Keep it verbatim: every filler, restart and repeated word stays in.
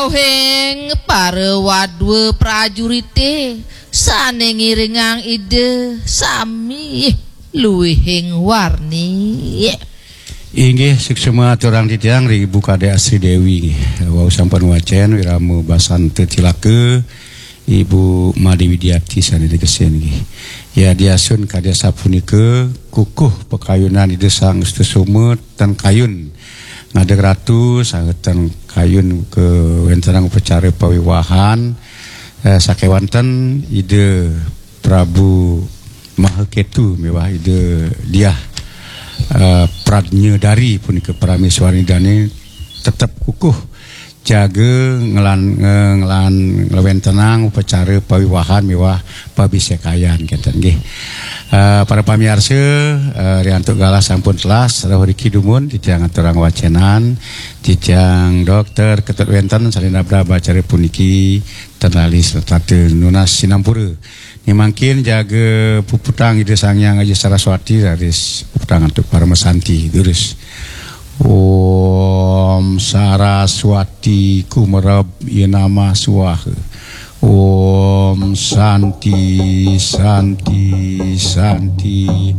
Ohing para wadwa prajurite sane ngiringang Ida sami luwihing warni. Inggih, suksma aturang titiang ring Ibu Kadek Asri Dewi, nggih. Wau sampun wacen wirama basan tetilaka, Ibu Made Widiati sane tegesin, nggih. Ya, diasun kadi sapunika, kukuh pakayunan Ida Sang Sutasoma ten kayun ngadeg ratu, saha ten kayun kawentenang upacara pawiwahan, eh, sakewanten Ida Prabu Mahaketu miwah Ida Diah, eh, Pradnya Dari punika parameswari dane tetep kukuh jaga ngelan, nge-, ngelan nglawentenang upacara pawiwahan miwah pabisekayan kenten nggih. Eh, para pamiarsa, eh, riantuk galah sampun telas, rauh riki dumun titiang aturang wacenan, titiang Dokter Ketut Wenten sane nabdab acara puniki ten lali setata nunas sinampura. Ning mangkin jaga puputang Ida Sang Hyang Aji Saraswati raris puputang antuk paramasanti durus. Om Saraswati Kumerab Yenamah Swaha. Om Santi, Santi, Santi.